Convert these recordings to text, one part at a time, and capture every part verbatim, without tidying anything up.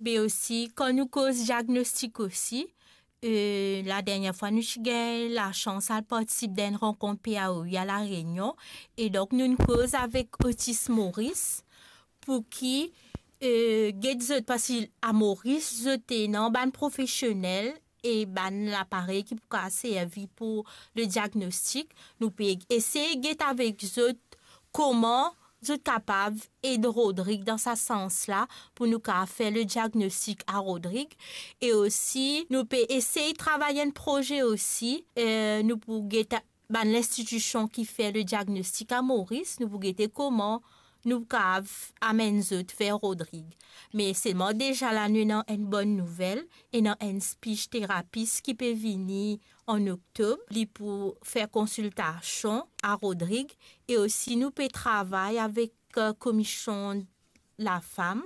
Be osi, kan nou koz diagnostik osi, eh, ladernie fwa nou ti gagn lasans al partisip dan enn rankont P A O I a La Réunion, e donk nou'nn koz avek Otis Moris, pou ki, eh, get zot, parski a Moris, zot ena bann profesionel e bann laparey ki pou kapav servi pou le diagnostik. Nou pe esey get avek zot kouma zot kapav ed Rodrig dan sa sans la, pou nou kapav fer le diagnostik a Rodrig. E osi, nou pe esey travay enn proze osi, eh, nou pou get bann linstitision ki fer le diagnostik a Moris, nou pou gete kouma nou kapav amenn zot ver Rodrig. Me selman deza la nou ena enn bonn nouvel, ena enn speech terapis ki pe vini an oktob, li pou fer konsiltasion a Rodrig, e osi nou pe travay avek, eh, Komisyon Lafam.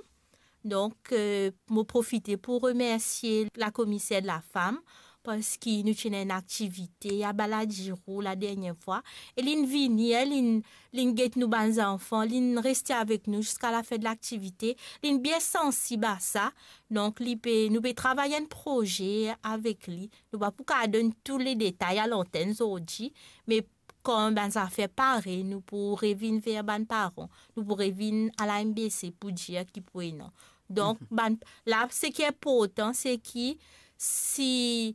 Donk, eh, mo profite pou remersie lakomiser lafam, parski nou ti ena enn aktivite a Baladiro ladernie fwa, e li'nn vini, eh, li'nn, li'nn get nou bann zanfan, li'nn reste avek nou ziska lafin de laktivite, li'nn bien sansib a sa. Donk, li pe, nou pe travay enn proze avek li. Nou pa pou kapav donn tou le detay a lantenn zordi, me kan bann zafer pare, nou pou revinn ver bann paran, nou pou revinn a la M B C pou dir ki pou ena. Donk, bann, la, seki inportan, se ki si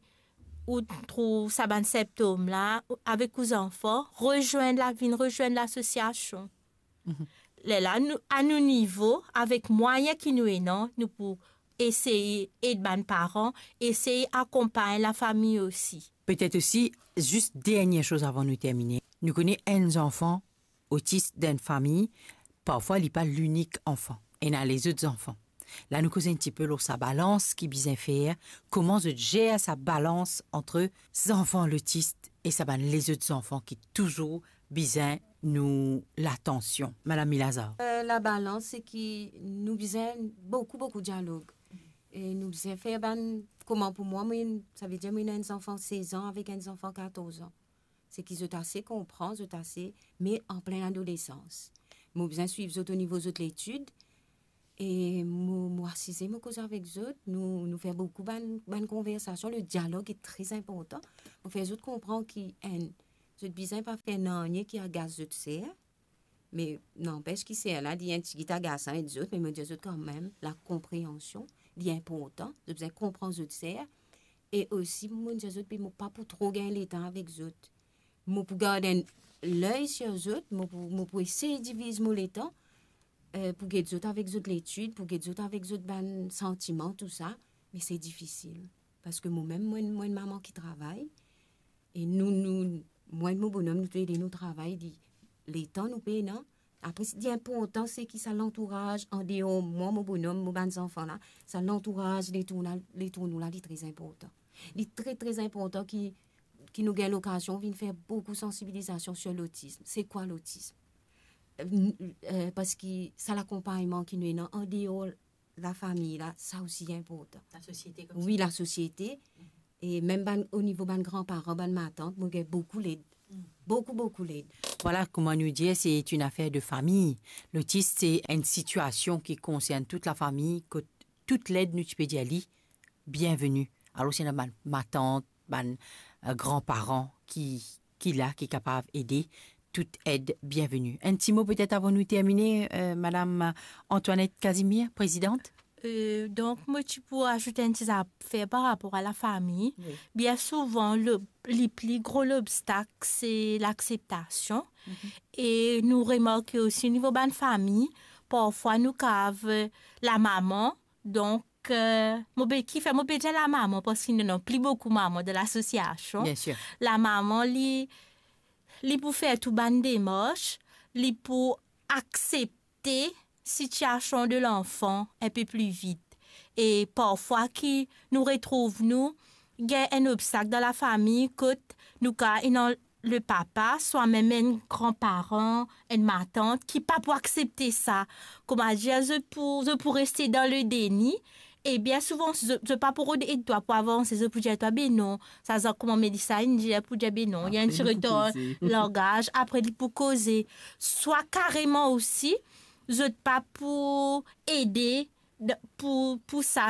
ou trouv sa bann sintom la, avek ou zanfan, rezwenn la, vinn rezwenn lasosiasion. Lerla, nou, a nou nivo, avek mwayin ki nou ena, nou pou esey ed bann paran, esey akonpagn lafami osi. Petet osi, zis dernie soz avan nou termine. Nou kone enn zanfan otis dan enn fami, parfwa li pa linik anfan. Ena lezot zanfan. La nou koze enn tipe lor sa balans ki bizin fer, kouma zot zer sa balans ant zanfan lotis e sa bann lezot zanfan ki touzour bizin nou latansion. Madam Milazar. Eh, labalans, se ki nou bizin boukou, boukou dialog. E nou bizin fer bann, kouma pou mwa, mwa, savedir mwa ena enn zanfan sez an avek enn zanfan katorz an. Se ki zot ase konpran, zot ase, me an plin adolesans. Mo bizin swiv zot o nivo zot letid, e mo, mo asize, mo koz avek zot, nou, nou fer boukou bann, bann konversasion. Le dialog est très important. Mo fer zot konpran ki, enn, zot bizin pa fer nanye ki agas zot ser. Me nanpes ki ser la, li enn tigit agasan ed zot, me mo dir zot kanmem, lakonpreansion, li inportan, zot bizin konpran zot ser. E osi, mo dir zot, be mo pa pou tro gagn letan avek zot. Mo pou gard enn ley sir zot, mo pou, mo pou esey diviz mo letan, eh, pou get zot avek zot letid, pou get zot avek zot bann santiman, tou sa, me se difisil. Parski momem, mo enn, mo enn mama ki travay, e nou, nou, mwa ek mo bonom, nou tou le de nou travay, li, letan nou pena. Apre, se ki inportan, se ki sa lantouraz andeor mwa, mo bonom, mo bann zanfan la, sa lantouraz letour la, letour nou la, li tre inportan. Li tre, tre inportan ki, ki nou gagn lokazion vinn fer boukou sansibilizasion sir lotism. Se kwa lotism? Eh, n-, eh, parski sa lakonpagnman ki nou ena andeor lafami la, sa osi inportan. Lasosiete koumsa. Wi, lasosiete. E mem bann, o nivo bann granparan, bann matant, mo gagn boukou led. Boukou, boukou led. Vwala, kouma nou dir, se enn afer de fami. Lotis, se enn sitiasion ki konsern tou lafami, kot tou led nou ti pe dir li, bienveni. Alor, si ena bann matant, bann, eh, granparan ki, ki la, ki kapav ede, tou ed bienveni. Enn ti mo petet avan nou termine, eh, Madam Antoinette Casimir, prezidant? Eh, donk, mo ti pou azout enn ti zafer par rapor a lafami. Wi. Bien souvan, le, li pli gro lobstak, se lakseptasion. E nou remarke osi o nivo bann fami, parfwa nou kav, eh, lamama, donk, eh, mo pe, kifer mo pe dir lamama, parski nou ena pli boukou mama dan lasosiasion. Bien sir. Lamama, li, li pou fer tou bann demars, li pou aksepte sitiasion de lanfan enpe pli vit. E parfwa ki nou retrouv nou gagn enn obstak dan lafami kot nou kav ena le papa, swa mem enn granparan, enn matant ki pa pou aksepte sa. Kouma dir, zot pou, zot pou reste dan le deni. E bien souvan, zot, zot pa pou rod ed twa pou avanse, zot pou dir twa, "Be non, sa zan kouma Melissa inn dir," pou dir, "Be non, ena enn ti retar langaz," apre li pou koze. Swa kareman osi, zot pa pou ede de, pou, pou sa